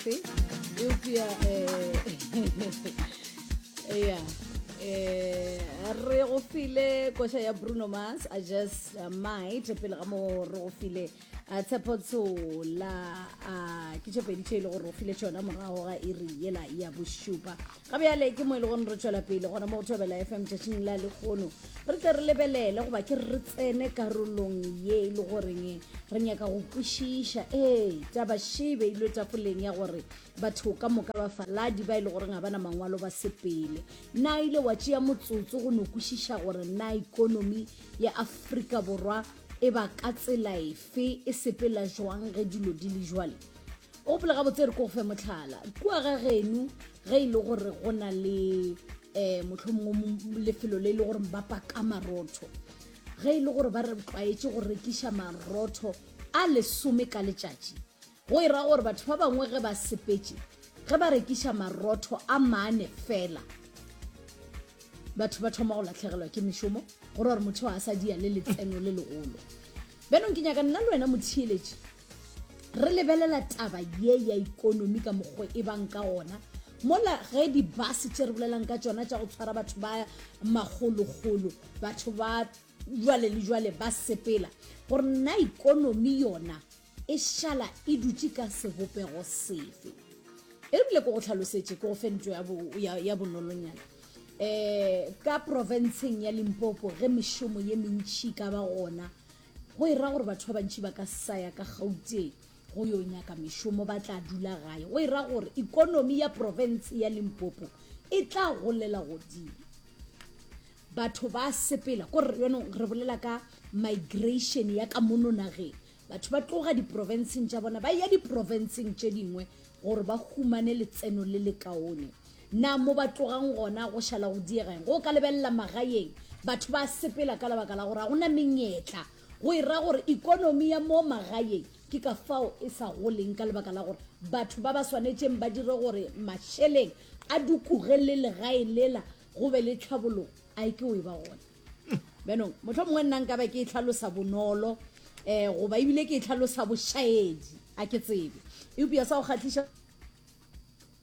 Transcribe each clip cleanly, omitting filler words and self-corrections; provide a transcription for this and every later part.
efe eupša um ya um re go file koša ya Bruno Mars I just uh, might pele ga mo re go file uh, Tshepo Tshola uh, ke tše pedi tše e le gore go file tšona morago ga iri yela ya bošupa ga bjale ke mo e le gore re tšwela pele gona mo go Thobela FM tšatšing la lekgono re tle re lebelele goba ke re tsene karolong ye e le goreng re nyaka go kwešiša ee taba še e beilwe tafoleng ya gore batho ka moka ba faladi ba e le goreng ga ba na mangwalo ba sepele na ile wa tšea motsotso go no kwešiša gore na ikonomi ya Afrika Borwa e ba ka tsela efe e sepela jwang ge dilo di le jwale o gopola gabotse re ko go fe motlhala kua ga geno ge e le gore go na le um mohlomongwe lefelo le e le gore ba paka marotho ge e le gore ba re tlwaetše go rekiša marotho a lesome ka letšatši go e ra gore batho ba bangwe ge ba sepetše ge ba rekiša marotho a mane fela batho ba thoma go latlhegelwa ke mešomo go ra gore motho a sa dia le letseno le legolo bjanong ke nyaka nna le wena motheeletši re lebelela taba ye ya ikonomi ka mokgwa e bang ka gona mola ge dibase tše re bolelang ka tšona tša go tshwara batho ba magologolo batho ba jwale le jwale ba sepela gore nna ikonomi yona e šala e dutše ka sebopego sefe e re bile ko go tlhalosetše ko go fe ntlo ya bonolonyana um ka profenseng ya limpopo ge mešomo ye mentšhi ka ba gona go e ra gore batho ba bantši ba ka sa ya ka gauteng go yo nyaka mešomo ba tla dula gae go e ra gore ikonomi ya profense ya limpopo e tla golela godimo batho ba sepela kore yonong re bolela ka migration ya ka mono nageng Batho ba tloga diprofenseng tša bona ba ya diprofenseng tše dingwe gore ba humane letseno le lekaone. Na mo ba tlogang gona go šala go diega eng? Go ka lebelela magaeng, batho ba sepela ka lebaka la gore ga go na menyetla. Go e ra gore ikonomi ya mo magaeng ke ka fao e sa goleng ka lebaka la gore batho ba ba swanetšeng ba dire gore mašeleng a dukuge le legae lela go be le tlhabologo a e ke o e ba gona. Bjanong, mohlomongwe nna nka ba ke e hlalosa bonolo um goba ebile ke e hlalosa bošaedi, a ke tsebe. Eupša sa go kgahliša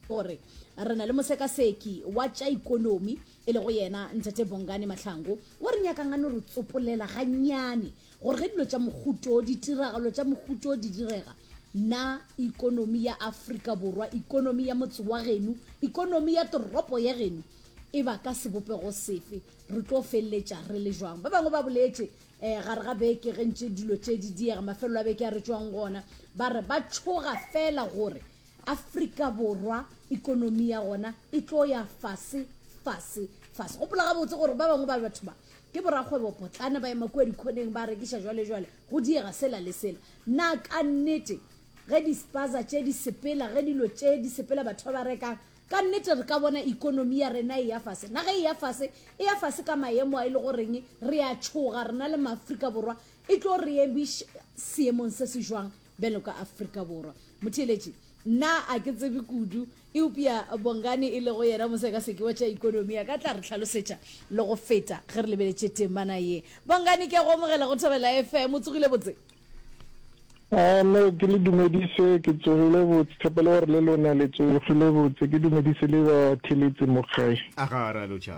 gore re na le mosekaseki wa tša ikonomi e lego yena Ntate Bongani Mahlangu o re nyakang a no re tsopolela gannyane gore ge dilo tša mohuto ditiragalo tša mohuto di direga na ikonomi ya Afrika Borwa ikonomi ya motse wa geno ikonomi ya toropo ya geno e ba ka sebopego sefe Re tlo feleletša re le jwang? Ba bangwe ba boletše um gare ga beke ge ntše dilo tše di diega, mafelelo a beke a re tšwang gona, ba re ba tšhoga fela gore Afrika Borwa ikonomi ya gona e tlo ya fase, fase, fase. Gopola gabotse gore ba bangwe ba batho ba ke borakgwebo potlana, ba ema kua dikhoneng ba rekiša jwale jwale, go diega sela le sela. Na ka nnete ge di-spaza tše di sepela, ge dilo tše di sepela, batho ba ba rekang Ka nnete re ka bona ikonomi ya rena e ya fase. Na ge e ya fase, e ya fase ka maemo a e le goreng re a tšhoga rena le maAfrika Borwa, e tlo re emiša seemong se se jwang bjalo ka Afrika Borwa? Motheeletši, nna a ke tsebe kudu, eupša Bongani e lego yena mosekaseki wa tša ikonomi a ka tla re hlalosetša le go feta ge re lebeletše temana ye. Bongani, ke a go amogela go Thobela FM. O tsogile botse? A no ke le dumedise, ke tsogile botse, tshepelo gore le lona le tsogile botse, ke dumedise le ba theletsi mo gae. A ga ra lotšha.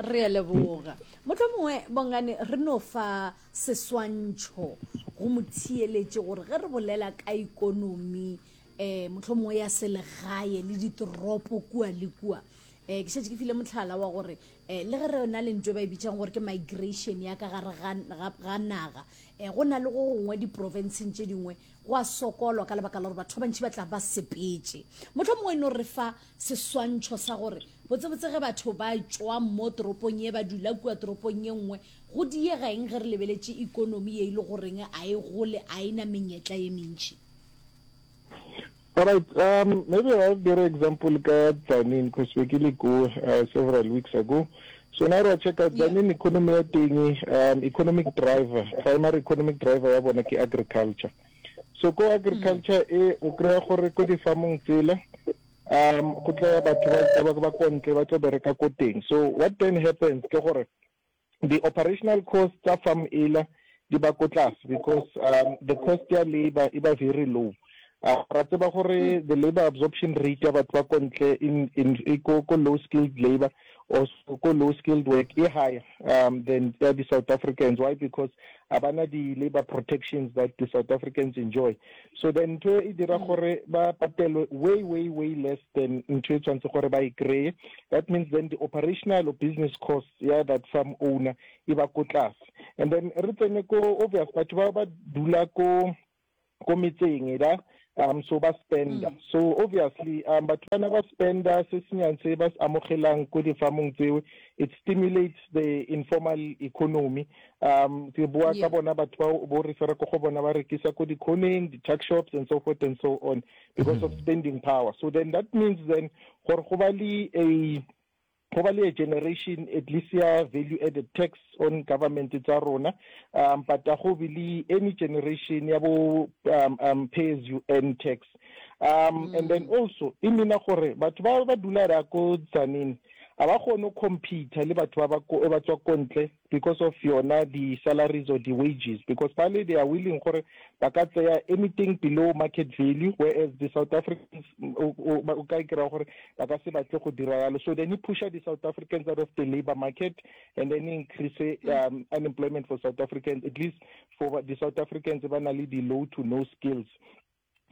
Re a leboga. Mohlomongwe Bongani re no fa seswantšho go motheeletši gore ge re bolela ka ikonomi um mohlomongwe ya selegae le ditoropo kua le kua um ke šetše ke file mohlala wa gore um le ge re na le ntho e ba e bitšang gore ke migration ya ka gare ga naga um go na le go gongwe diprofenseng tše dingwe go a sokolwa ka lebaka la gore batho ba bantši ba tla ba sepetše. Mohlomongwe e no re fa seswantšho sa gore botsebotse ge batho ba tšwa mo toropong ye ba dula kua toropong ye nngwe go diega eng ge re lebeletše ikonomi ye e le goreng a e gole a e na menyetla ye mentši. Alright, um, maybe I'll give an example ka Tzaneen because be ke le ko uh, several weeks ago. So now ra check out Tzaneen economy ya teng, um, economic driver, primary economic driver ya bona ke agriculture. So ko agriculture e o kry-a gore ko di-farmong tsela um go tla ya batho ba ba ko ntle ba tlo bereka ko teng. So what then happens ke gore the operational cost tsa farm ela di ba ko tlase because um, the cost ya labor e ba very low. Ra tseba gore the labour absorption rate ya batho ba ko ntle in, in, e ko, ko low skilled labour or ko low skilled work e higher than ya di South Africans. Why? Because a ba na di labour protections that the South Africans enjoy. So then ntho e dira gore ba patelwe way, way, way less than ntho e tshwanetse gore ba e kry-e. That means then the operational or business costs ya that farm owner e ba ko tlase. And then re tsene ko obvious batho ba ba dula ko ko metseng da so ba spenda. So obviously batho bana ba spenda se senyang se ba se amogelang ko di-farmong tseo, it stimulates the informal economy. Ke bua ka bona batho ba bo refera ko go bona ba rekisa ko di-corneng, di-tuck shops and so forth and so on, because of spending power. So then that means then gore go ba le a go ba le a generation at least ya value added tax on government tsa rona, but a go be le any generation ya bo pay as you earn tax. And then also e meana gore batho ba ba dula ra ko Tzaneen a ba kgone go compete le batho ba ba ba tswa ko ntle because of yona di salaries or di wages, because bale they are willing gore ba ka tseya anything below market value, whereas the South Africans o ka kry-a gore ba ka se batle go dira yalo. So then e pusha the South Africans out of the labor market and then increase unemployment for South Africans, at least for the South Africans ba na le di low to no skills.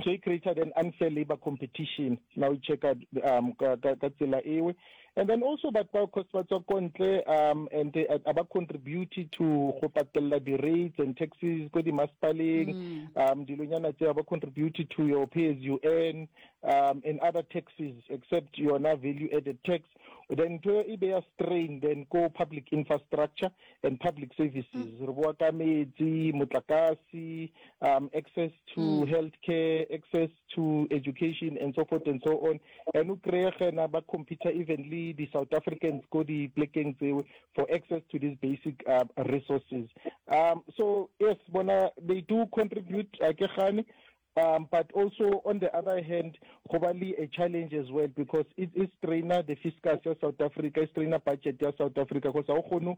So e created an unfair labor competition now e checka ka tsela ewe. And then also batho ba cause ba tswa ko ntle and a ba contribute to go patella di-rates and taxes ko di-masepaleng, dilonyana tse ba contribute to your pay as you earn and other taxes except yona value added tax. Then ntho e beya strain then ko public infrastructure and public services. Re bua ka metsi, motlakase, access to healthcare, access to education and so forth and so on. And o kry-e gena ba compete even le di South Africans ko di plekeng tseo for access to these basic resources. So yes, bona they do contribute, a ke gane, but also on the other hand, go ba le a challenge as well, because it is strainer the fiscus ya South Africa, e strainer budget ya South Africa, because ha o kgone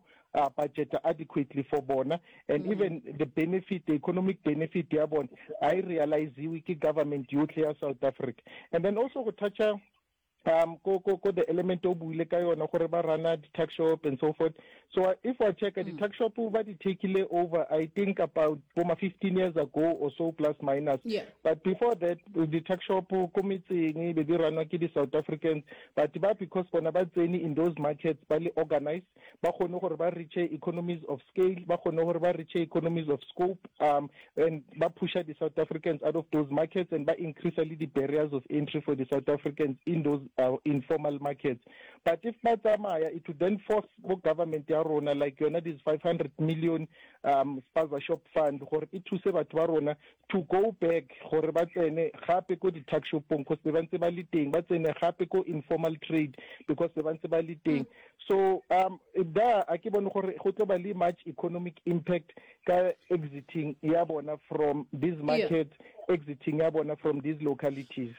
budget adequately for bona, and even the benefit, the economic benefit ya bona, ha e realiziwe ke government yotlhe ya South Africa. And then also go toucha ko, ko, ko the element o buile ka yona gore ba rana di-tuck shop and so forth. So if wa check di-tuck shop ba di takile over, I think about boma 15 years ago or so, plus minus. But before that, di-tuck shop ko metseng be di ranwa ke di-South Africans, but ba because bona ba tsene in those markets ba le organized, ba kgone gore ba reach economies of scale, ba kgone gore ba reach economies of scope, and ba pusha the South Africans out of those markets and ba increase le the barriers of entry for the South Africans in those informal markets. But if ba tsamaya, it would then force bo government ya rona, like yona this 500 million spaza shop fund, gore e thuse batho ba rona to go back gore ba tsene gape ko di-tuck shopong, because ba ntse ba le teng, ba tsene gape ko informal trade because ba ntse ba le teng. So da a ke bone gore go tlo ba le much economic impact ka exiting ya bona from these markets, exiting ya bona from these localities.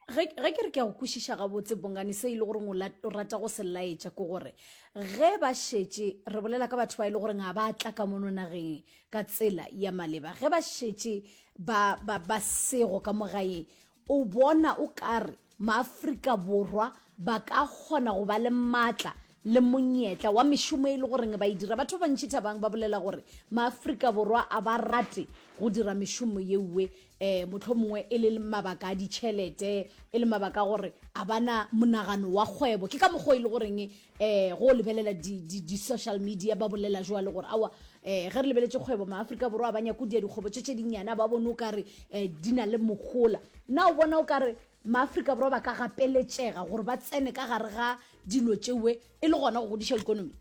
Ge ke re ke a go kwešiša gabotse, Bongani, se e le goreng o rata go se laetša ke gore ge ba šetše, re bolela ka batho ba e le goreng ga ba tla ka mono nageng ka tsela ya maleba, ge ba šetše ba, ba, ba sego ka mo gae, o bona o kare Maafrika Borwa ba ka kgona go ba le maatla le monyetla wa mešomo e le goreng ba e dira. Batho ba bantši Thabang ba bolela gore Maafrika Borwa a ba rate go dira mešomo yeuwe, um mohlomongwe e le mabaka a ditšhelete, e le mabaka a gore a ba na monagano wa kgwebo. Ke ka mokgwa o e le goreng um go lebelela di-social media ba bolela jwalo gore aowa, um ge re lebeletše kgwebo Maafrika Borwa a ba nyake go dia dikgwebo tše tše dinnyane, a ba bone o kare um di na le mohola. Na o bona o kare Maafrika Borwa ba ka gapeletšega gore ba tsene ka gare ga dilo tšewe e le gona go godiša ikonomi?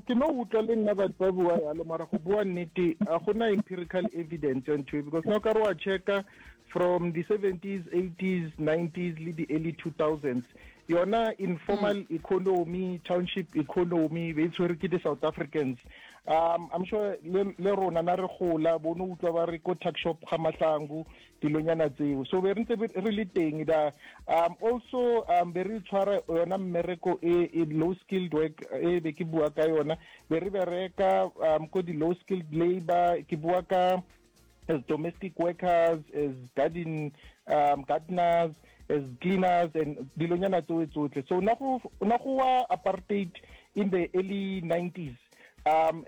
Ke no utlwa le nna batho ba bua yalo, mara go bua nnete a gona empirical evidence ya ntho e, because na o ka re wa checka from the 70s, 80s, 90s le the early 2000s, yona informal economy, township economy be e tshwere ke di-South Africans. I'm sure le rona na re gola bo no utlwa ba re ko tuck shop ga Mahlangu, dilonyana tseo, so be re ntse re le teng da. Also be re tshwara yona mmereko e, e low skilled work e be ke bua ka yona, be re bereka ko di low skilled labor, ke bua ka As domestic workers, as garden gardeners, as cleaners and dilonyana tsoe tsotlhe. So na go na go wa apartheid in the early 90s,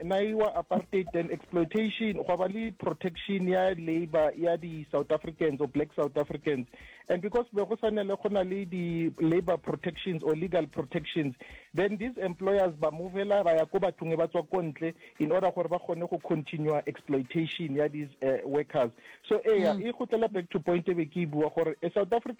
na e wa apartheid, then exploitation, gwa ba le protection ya labor ya di South Africans or black South Africans. And because be go sanele go na le di labor protections or legal protections, then these employers ba movela ba ya ko bathong e ba tswa ko ntle in order gore ba kgone go continue exploitation ya these workers. So eya, e gotlela back to point e be ke e bua gore a South African